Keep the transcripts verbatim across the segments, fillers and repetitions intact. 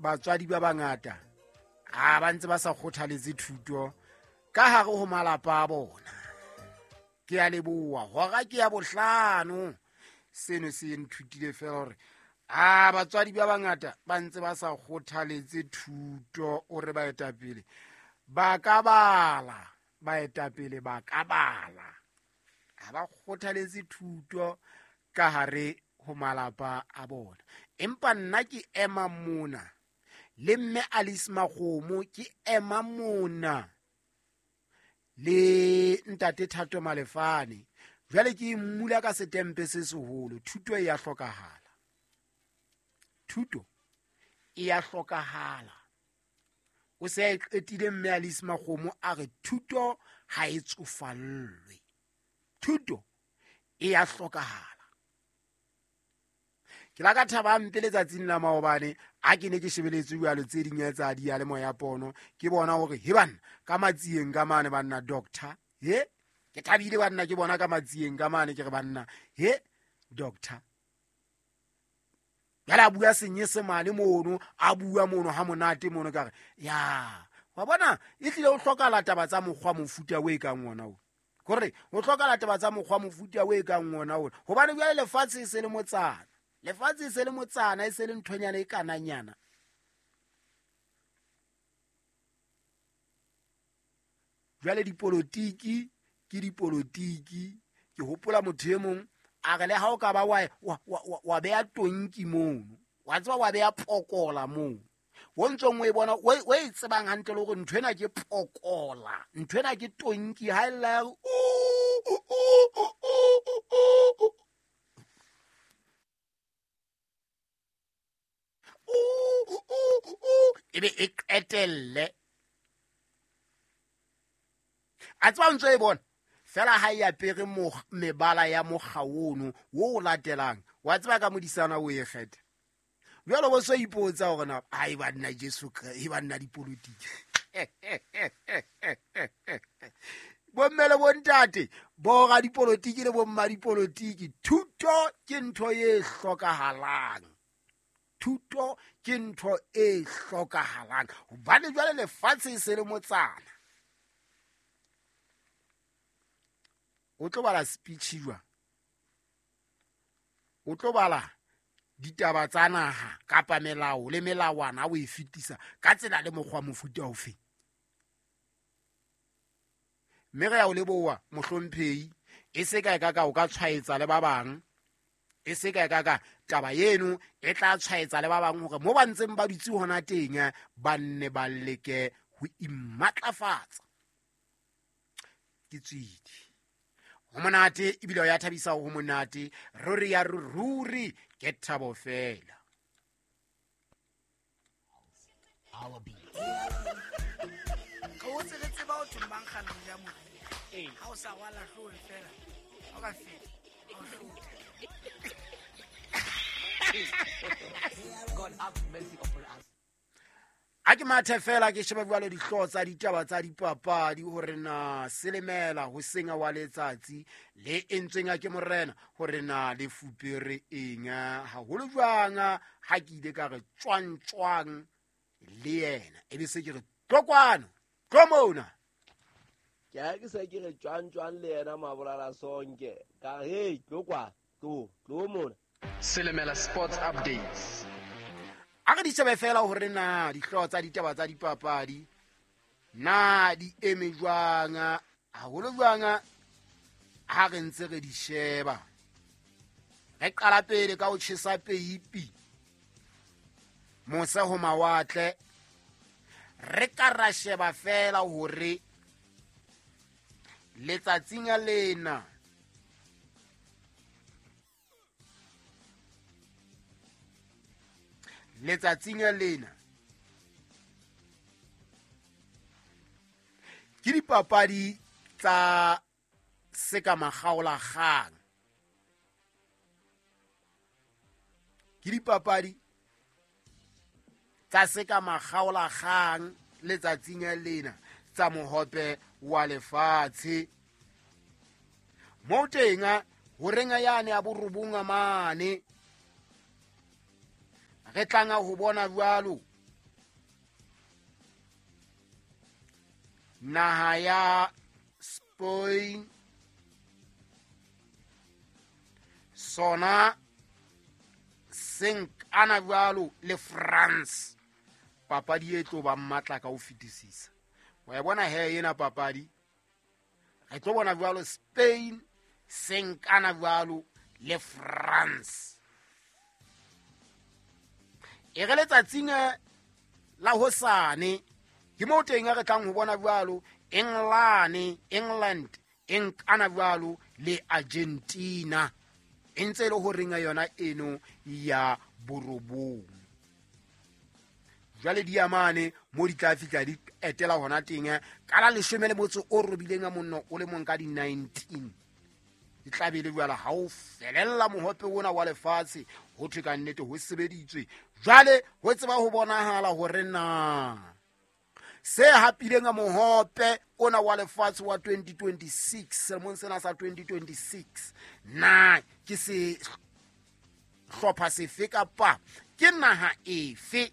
batswadi ba bangata a ba ntse ba sa kgothaletse thuto ka hare ho malapa a bona. Ke a leboha, hora ke ya bohlano. Seno se nthutile fela hore a batswadi ba bangata ba ntse ba sa kgothaletse thuto. O re baetapele ba ka bala, baetapele ba ka bala, ha ba kgothaletse thuto ka hare ho malapa a bona. Empa nna ke ema mona le mme Alice Makgomo, ke ema mona le ntate Thato Malefane. Jwale ke mmula ka setempe se seholo. Thuto e ya hlokahala, thuto e ya hlokahala. O se a qetile mme Alice Makgomo a re thuto ha e tsofallwe, thuto e ya hlokahala. Ke la ka thaba mpe letsatsing la maobane a ke ne ke shebeletse jwalo tse ding tsa diyalemoya pono, ke bona hore he banna ka matsieng ka mane banna doctor, he ke thabile banna ke bona ka matsieng ka mane, ke re banna he doctor. Jwale a bua senyesemane mono, a bua mono ha monate mono, ka re ya wa bona e tlile ho hlokahala taba tsa mokgwa mofuta o e kang ona o, hore ho hlokahala taba tsa mokgwa mofuta o e kang ona o, hobane jwale lefatshe e se le motsana, lefatshe e se le motsana, e se le nthonyana e kananyana. Jwale dipolotiki ke dipolotiki. Ke hopola motho e mong a re le ha o ka ba wa wa wa beha tonki mono, wa tseba wa beha pokola mono, o ntsong o e bona o e tsebang hantle le hore ntho ena ke pokola, ntho ena ke tonki, ha e lla o ebe e qetelle. A tseba ntso e bona fela ha e apere mebala ya mokga ono wo o latelang, wa tseba ka modisana o e kgetha. Jwale bo so ipotsa hore na ai banna Jesu e banna dipolotiki. Bomme le bontate, bo radipolotiki le bomma dipolotiki, thuto ke ntho e hlokahalang. Thuto ke ntho e hlokahalang hobane jwale lefatshe e se le motsana. O tlo bala speech jwang? O tlo bala ditaba tsa naha kapa melao le melawana o e fetisa ka tsela le mokgwa mofuta ofe? Mme re ya o leboha mohlomphehi, e se ka ka ka o ka tshwaetsa le ba bang, e se ka ka ka taba eno e tla tshwaetsa le ba bang hore mo ba ntseng ba dutse hona teng ba nne ba leke ho imatlafatsa. Ke tswidi ho monate ebile ya thabisa ho monate, ruri ya ruri ke thabo fela. Ka o tsebe tseba o thomang kgano ya mori. Ha o sa rwala hlooho fela, o ka feta, o hlotha. God have mercy upon us. A ke mathe fela ke sheba jwalo dihlooho tsa ditaba tsa dipapadi hore na selemela ho senga wa letsatsi le entsweng ke morena hore na le fupere eng haholo jwang ha ke ile ka re tswang tswang le yena e be se ke re tlo kwano tlo mona. Ke ha ke se ke re tswang tswang le yena mabolala sonke ka hey tlo kwa tlo tlo mona. Selemela Sports Updates. A re di shebe fela hore na dihlooho tsa ditaba tsa dipapadi na di eme jwang haholo jwang ha re ntse re di sheba. Re qala pele ka ho tjhesa peipi mose ho mawatle. Re ka ra sheba fela hore letsatsing lena letsatsing lena ke dipapadi tsa seka makgaolakgang, ke dipapadi tsa seka makgaolakgang letsatsing lena tsa mohope wa lefatshe. Mo teng ho renga yane ya borobong mane re tlanga ho bona jwalo Naha ya Spain sona senkana jwalo le France. Papadi e tlo ba matla ka ho fetisisa. Wa e bona he ena papadi, re tlo bona jwalo Spain senkana jwalo le France. E re letsatsing la hosane ke mo teng re tlang ho bona jwalo England England enkana jwalo le Argentina, e ntse le ho renga yona eno ya borobong. Jwale diamane mo di tla fihla di etela hona teng ka la leshome le motso o robileng a monno o le mong ka di nineteen. Di tla be le jwale ha o felella mohope ona wa lefatshe, ho thwe ka nnete ho sebeditswe. Jwale ho tseba ho bonahala hore na se hapileng a mohope ona wa lefatshe wa twenty twenty-six, selemong sena sa twenty twenty-six, na ke se hlopha sefe kapa ke naha efe?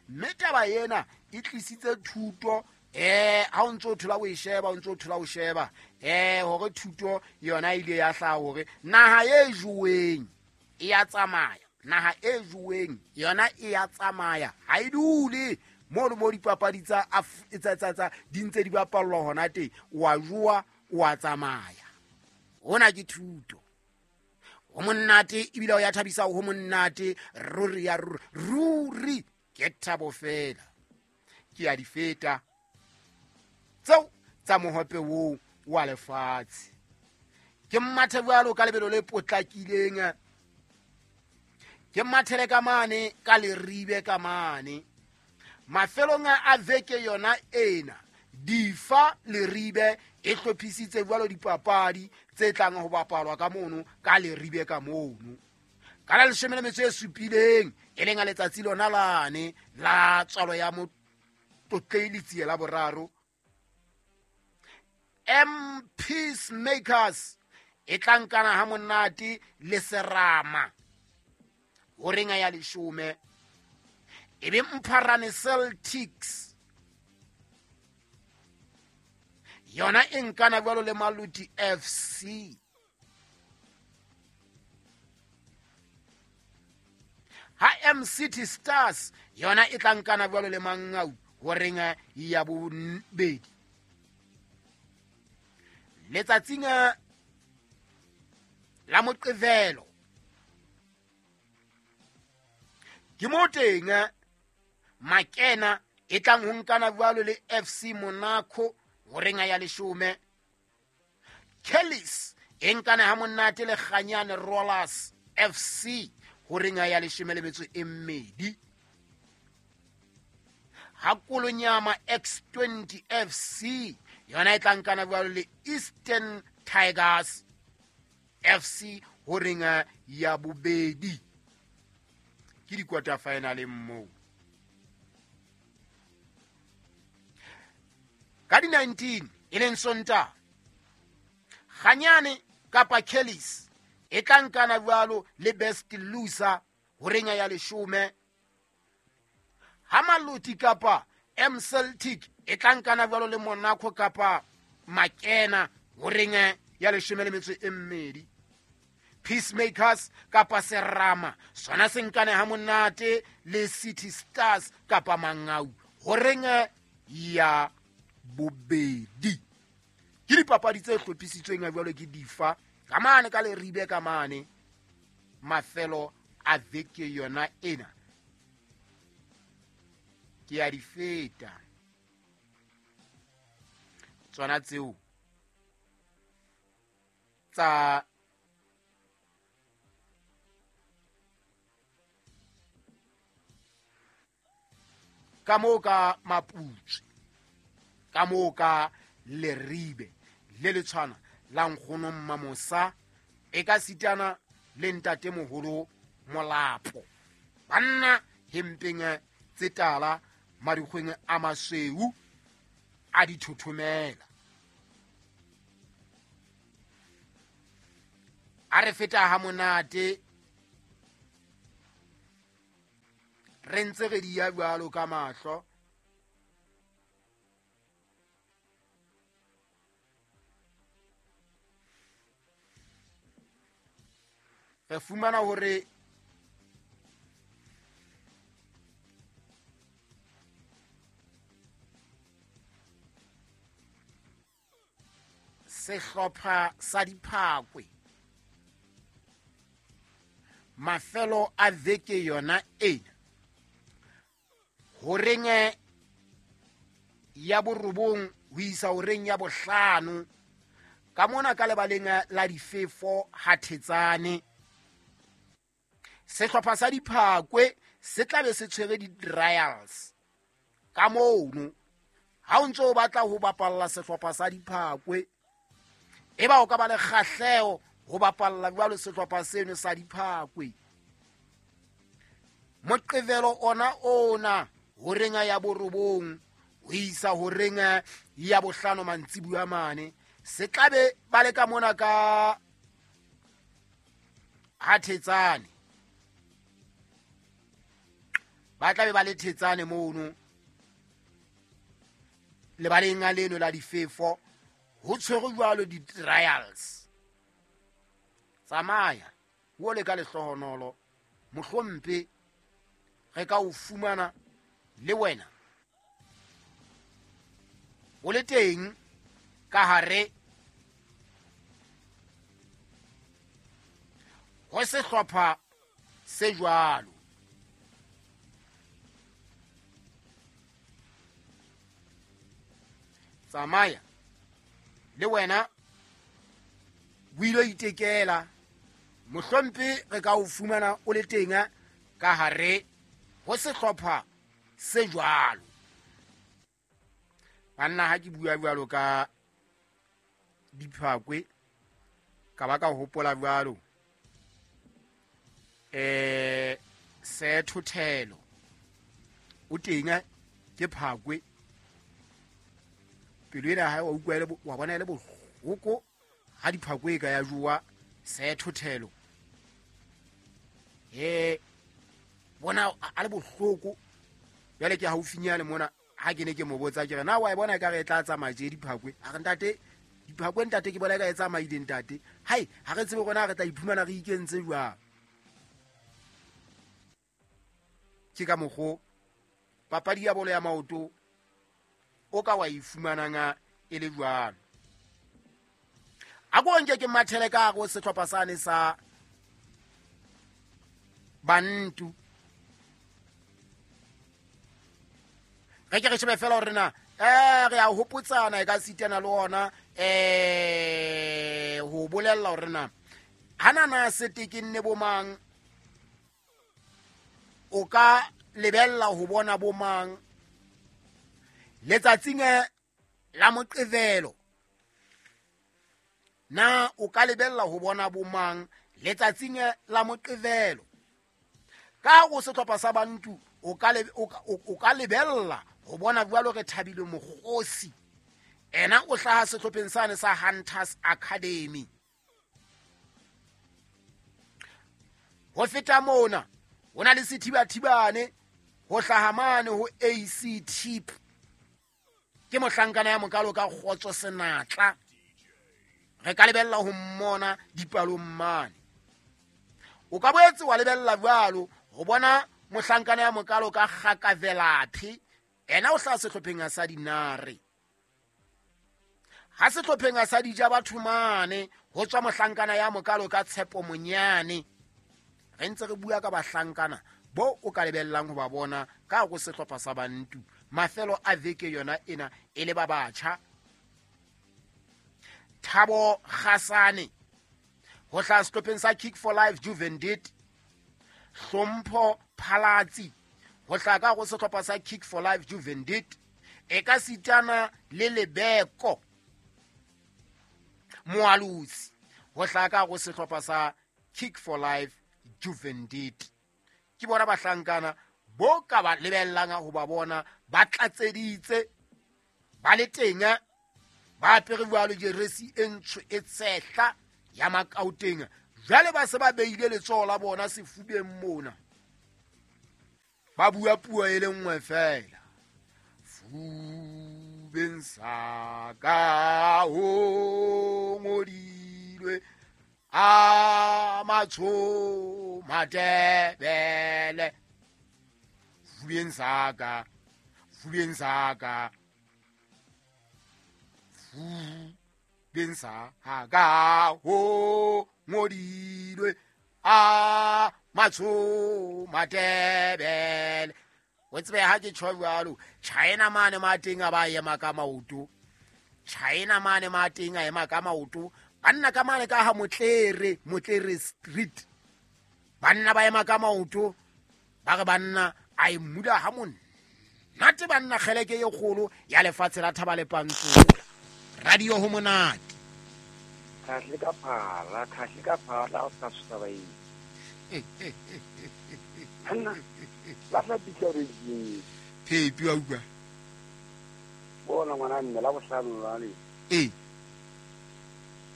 Mme taba ena e tlisitse thuto eh ha o ntso thola o e sheba, o ntso thola o sheba eh hore thuto yona ile ya hlaha hore naha e joweng e ya tsamaya, naha e joweng yona e ya tsamaya, ha e dule mo le mo dipapadi tsa tsa tsa di ntse di bapallwa hona teng, wa jowa wa tsamaya. Hona ke thuto. Ho monate ebile o ya thabisa, ho monate ruri ya ruri ke thabo fela. Ke ya di feta tseo tsa mohope oo wa lefatshe. Ke mathe jwalo ka lebelo le potlakileng, ke mathele ka mane ka leribe ka mane. Mafelong a veke yona ena, Difa Leribe e hlophisitse jwalo dipapadi tse tlang ho bapalwa ka mono ka Leribe ka mono. Ka la leshome le metso e supileng, e leng a letsatsi lona lane la tswalo ya Motlotlei Letsie la boraro, M Peacemakers e tla nkana ha monate le Serama horeng ya leshome. E be Mpharane Celtics yona e nkana jwalo le Maluti F C. Ha M City Stars yona e tla nkana jwalo le Mangau horeng ya bobedi. Letsatsing la Moqebelo ke mo teng Makena e tlang ho nkana jwalo le F C Monaco horeng ya leshome. Kellis e nkana ha monate le Kganyane Rollers F C horeng ya leshome le metso e mmedi. Ha Kolonyama X twenty F C yona e tla nkana jwalo le Eastern Tigers F C horeng ya bobedi. Ke di-quarter final moo. Ka di nineteen e leng Sontaha, Kganyane kapa Kellis e tla nkana jwalo le Best Loser horeng ya leshome. Ha Maluti kapa M Celtic e tla nkana jwalo le Monaco kapa Makena horeng ya leshome le metso e mmedi. Peacemakers kapa Serama sona se nkane ha monate le City Stars kapa Mangau horeng ya bobedi. Ke dipapadi tse hlophisitsweng jwalo ke Difa ka mane ka Leribe ka mane mafelo a veke yona ena. Ke ya di feta tsona tseo tsa ka moo ka Maputswe, ka moo ka Leribe le letshwana la nkgono Mmamosa e ka sitana le ntatemoholo Molapo. Banna hempeng tse tala madikgweng a masweu a dithothomela. A re feta ha monate re ntse re di ya jwalo ka mahlo. Re fumana hore sehlopha sa Diphakwe mafelo a veke yona ena horeng ya borobong ho isa horeng ya bohlano ka mona ka lebaleng la difefo ha Thetsane sehlopha sa Diphakwe se tla be se tshwere di-trials ka mono. Ha o ntse o batla ho bapalla sehlopha sa Diphakwe, e ba o ka ba le kgahleho ho bapalla jwalo sehlopha seno sa Diphakwe, Moqebelo ona ona horeng ya borobong ho isa horeng ya bohlano mantsibuya mane se tlabe ba le ka mona ka ha Thetsane, ba tlabe ba le Thetsane mono lebaleng a leno la difefo ho tshwerwe jwalo di-trials. Tsamaya o le ka lehlohonolo, mohlompe re ka o fumana le wena o le teng ka hare ho sehlopha se jwalo. Tsamaya le wena o ilo itekela, mohlompe re ka o fumana o le teng ka hare ho sehlopha se jwalo. Banna ha ke bua jwalo ka Diphakwe ka ba ka hopola jwalo eh Sethothelo o teng ke Phakwe, pelo ena hae wa utlwa ele wa bona ele bohloko ha Diphakwe e ka ya jowa Sethothelo eh bona a le bohloko. Jwale ke haufinyane mona ha ke ne ke mo botsa ke re na wa e bona e ka re e tla tsamaya je Diphakwe, a re ntate Diphakwe ntate ke bona e ka e tsamaile ntate, hai ha re tsebe rona re tla iphumana re ikentse jwang. Ke ka mokgo papadi ya bolo ya maoto o ka wa e fumanang e le jwalo. A ko nke ke mathele ka go sehlopha sane sa Bantu, re ke re shebe fela hore na eh re a hopotsana e ka sitana le ona eh ho bolella hore na hana na sete ke nne bomang, o ka lebella ho bona bomang letsatsing la Moqebelo, na o ka lebella ho bona bomang letsatsing la Moqebelo. Ka go sehlopha sa Bantu o ka o ka lebella ho bona jwalo re Thabile Mokgosi, ena o hlaha sehlopheng sane sa Hunters Academy. Ho feta mona ho na le Sethibathibane ho hlaha mane ho A C T, ke mohlankana ya mokalo ka Kgotso Senatla, re ka lebella ho mmona dipalong mane. O ka boetse wa lebella jwalo ho bona mohlankana ya mokalo ka Kgakavelaphi, ena o hlaha sehlopheng sa Dinare. Ha sehlopheng sa Dija batho mane ho tswa mohlankana ya mokalo ka Tshepo Monyane. Re ntse re bua ka bahlankana bo o ka lebellang ho ba bona ka go sehlopha sa Bantu mafelo a veke yona ena e le ba batjha. Thabo Kgasane ho hlaha sehlopheng sa Kick for Life Juvendit, Hlompho Phalatsi ho hlaha ka go sehlopha sa Kick for Life Juvendit, e ka sitana le Lebeko Moalusi ho hlaha ka go sehlopha sa Kick for Life Juvendit. Ke bona bahlankana bo ka ba lebellang ho ba bona ba tlatseditse ba le teng ba apere jwalo jeresi e ntsho e tshehla ya Makauteng, jwale ba se ba beile letsoho la bona sefubeng mona ba bua puo e le nngwe fela, fubeng sa ka ho ngodilwe. A matsho Matebele fubeng saka fubeng saka fubeng saka ho ngodilwe a matsho Matebele. O tsebe ha ke tjho jwalo China mane mateng a ba ema ka maoto, China mane mateng a ema ka maoto, banna ka mane ka ha Motlere, Motlere Street, banna ba ema ka maoto ba re banna a e mmuda ha monate banna kgeleke e kgolo ya lefatshe la Thaba le Pantsola. Radio ho monate. Khahle ka phala, khahle ka phala o sa susa ba eng. Hanna la tla pitsa re di. Phepi wa utlwa. Bona ngwana mme la bohlano lwane. Eh.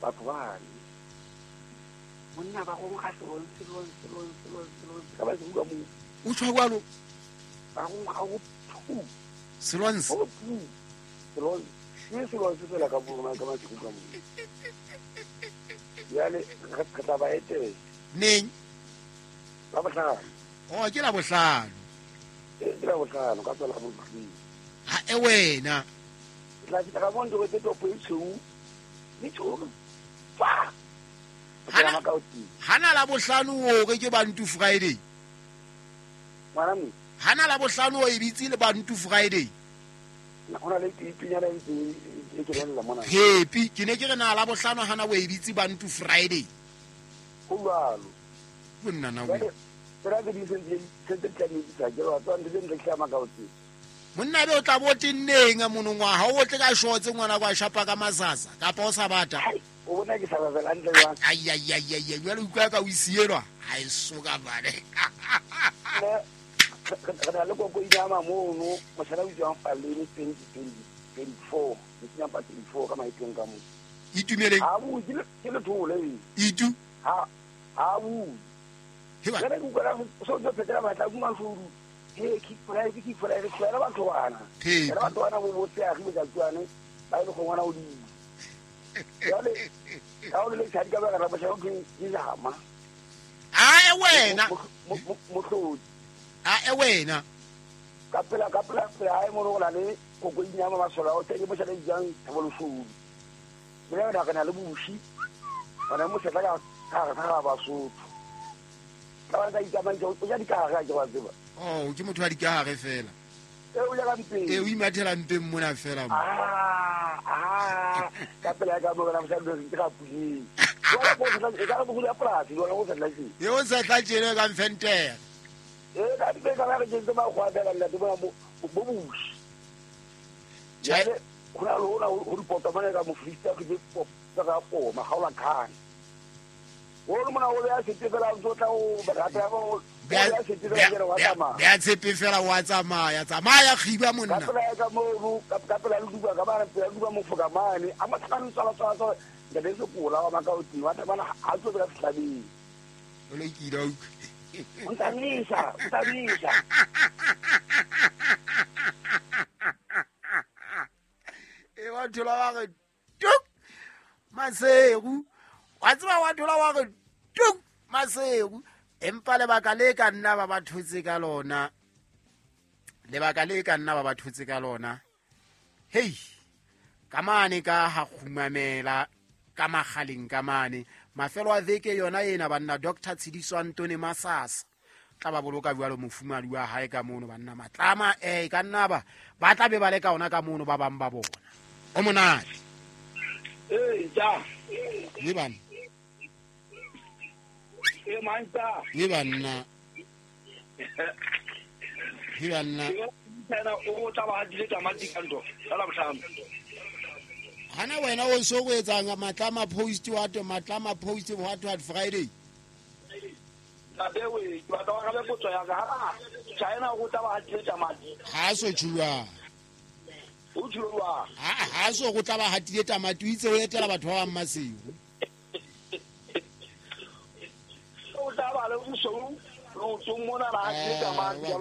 Batho ba ne. Monna ba go nkga selong selong selong selong selong ka ba se bua mo. O tshwa jwalo. Ba go nkga go thu. Selong. Go thu. Selong. Ke selong se fela ka bo ka ma se ka mo. Jwale re tla ba etela. Neng? La bohlano. Oh, ke la bohlano. Eh, ke la bohlano ka tsela bohlano. Ha e wena. Tla fihla ka mo ntho tse topo e tshweu. Le tshweu. Fa. Hana hana la bohlano o re ke Bantu Friday. Ngwana mo. Hana la bohlano o e bitse le Bantu Friday. Hona le pinyana e e ke rella mona. Happy ke ne ke re na la bohlano hana o e bitse Bantu Friday. Ho jwalo. Bonna na o. Tsela tse di sentse sentse tla di tsa ke wa tswa ntse ntse tlama ka otse. Monna be o tla bo tenneng monongwaha o tle ka shotse ngwana kwa shapa ka masasa kapa o sa bata. O bona ke sa ba fela ntle jwang. Ai ai ai ai jwale utlwa ka o isielwa ha e soka bane. Re na le koko inyama mono mosala o tswang Faleni twenty twenty-four ke pa twenty-four ka maetong ka mo. Itumeleng. Ha bu ke ke le thole. Itu. Ha ha bu. Heba. Re ke utlwa so tso phetela batla kuma furu. He ke price ke price fela batho bana. Fela batho bana bo botse a go tswane ba ile go ngwana o di. Jwale ka o le tshadi ka ba ra ba ke ke jama. A e wena. Mohlodi. A e wena. Ka pela ka pela pela ai mo rola le koko inyama masola o teng mo tshela jang thaboloshodi. Mona re na le bushi. Bana mo setla ka ka ka ba sotho. Ka ba ka itsamang o ja dikahare ke wa tseba. Oh, ke motho wa dikahare fela. E o ja ka mpeng. E o imathela mpeng mona fela mo. Ah, ah, ka pela ka mo bona mosadi ke ka puleng. Jwale go setla e ka go ya polasi, jwale go setla tjena. E o setla tjena ka mfentere. E ka di ka re ke tseba go abela ntate bona bo bo bushi. Jwale go na le hona ho ripota mane ka mofrista ke ke ka poma ga ola khane. O le mona o ya sete fela o tla o rata ba o ya sete fela ke re wa tsamaya. Ya tshepe fela wa tsamaya, tsamaya khiba monna. Ka pela ka mo ka pela le duba ka ba pela duba mo foka mane a matlhano tsala tsala tsala ntate se kola wa maka o teng wa tsamana ha tso ka fihlabeng. O le kile o O ntamisa, o ntamisa. E wa thola wa re tuk Maseru. Wa tseba wa thola wa re tuk Maseru. Empa lebaka le ka nna ba ba thotse ka lona. Lebaka le ka nna ba ba thotse ka lona. Hey, ka mane ka ha kgumamela ka magaleng ka mane. Mafelo a veke yona ena banna Doctor Tshidiso Antone Masasa tla ba boloka jwalo mofumadi wa hae ka mono banna matlama eh ka nna ba ba tla be ba le ka ona ka mono ba bang ba bona. O monate. Eh ja. Le bana. E manta. Le bana. Le bana. Tsena o tla ba hadile tamati ka ntho. La bohlano. Hana wena o so go etsang matlama post wa to matlama post what what Friday. Ntate we ba tla ka le potso ya ka ha China go tla ba hatile tamati. Ha so tshua. O tshua. Ha ha so go tla ba hatile tamati o itse o etela batho ba bang Maseru. O tla ba le o so lo tsong mona ba hatile tamati.